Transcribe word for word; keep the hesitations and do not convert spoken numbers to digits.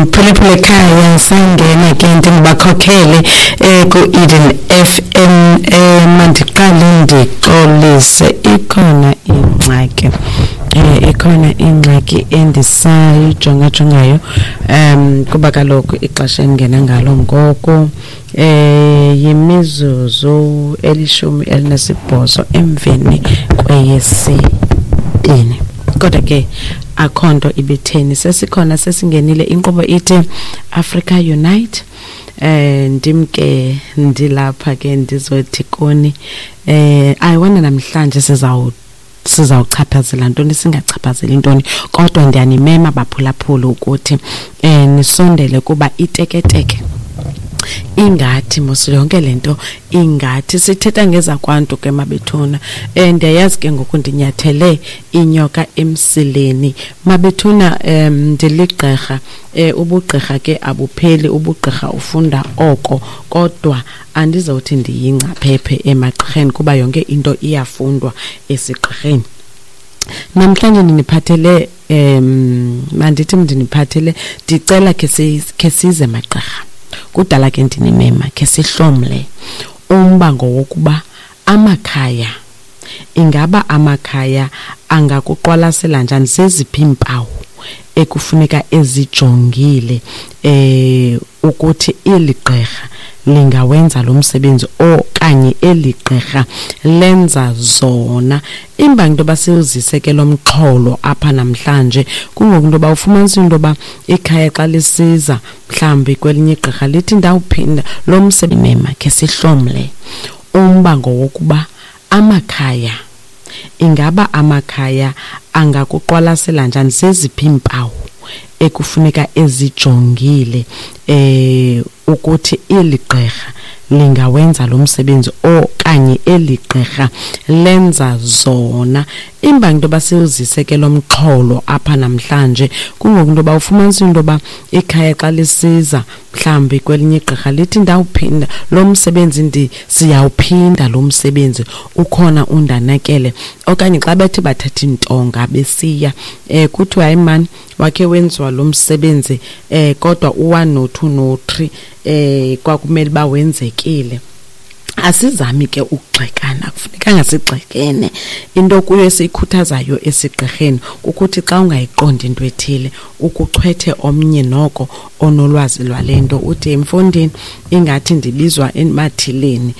Mphulaphula ekhaya, sangena ke ndingubakhokhele eh ku-Eden F M. eh mandiqale ndixolise, ikhona ingxaki eh ikhona ingxaki endisayijongajongayo um kuba kaloku ixesha endingena ngalo ngoku eh yimizuzu elishumi elinesibhozo emveni kweyesibini, kodwa ke akho nto ibitheni, sesikhona, sesingenile. Inkqubo ithi Africa Unite. eh ndim ke ndilapha ke, ndizothi kuni eh ayiwona namhlanje sizawu sizawuchaphazela ntoni, singachaphazeli ntoni, kodwa ndiyanimema baphulaphula ukuthi eh nisondele kuba iteketeke ingathi mos yonke lento ingathi sithetha ngezakwantu ke mabethuna. eh ndiyayazi ke ngoku ndinyathele inyoka emsileni mabethuna. Em ndiligqirha, eh ubugqirha ke abupheli, ubugqirha ufunda oko, kodwa andizawuthi ndiyingcaphephe emagqirheni kuba yonke into iyafundwa esigqirheni. Namhlanje ndiniphathele, em mandithi ndiniphathele, ndicela ke ke size magqirha, kudala ke ndinimema, ke sihlomle umbango wokuba amakhaya, ingaba amakhaya angakuqwalasela njani, zeziphi iimpawu ekufuneka ezijongile eh ukuthi eli gqirha lingawenza lo msebenzi okanye eli gqirha lenza zona. Imbangi into yoba siwuzise ke lo mxholo apha namhlanje kungoku into yoba ufumanisa into yoba ikhaya xa lisiza mhlawumbi kwelinye igqirha lithi ndawuphinda lo msebenzi, khe sihlomle umbango wokuba amakhaya, ingaba amakhaya angakuqwalasela njani, zeziphi iimpawu ekufuneka ezijongile eh ukuthi eli gqirha lingawenza lo msebenzi okanye eli gqirha lenza zona. Imbangi into yoba siwuzise ke lo mxholo apha namhlanje kungoku into yoba ufumanisa into yoba ikhaya xa lisiza mhlawumbi kwelinye igqirha lithi ndawuphinda lo msebenzi, ndi siyawuphinda lo msebenzi ukhona undanakele, okanye xa bethe bathatha iintonga besiya eh kuthiwa hayi mani, wakhe wenziwa lo msebenzi eh kodwa u-one no-two no-three eh kwakumele uba wenzekile. Asizami ke ukugxekana, akufunekanga sigxekene. Into kuyo esiyikhuthazayo esigqirheni kukuthi xa ungayiqondi into ethile ukuchwethe omnye noko onolwazi lwale nto, uthi mfondini, ingathi ndibizwa emathileni.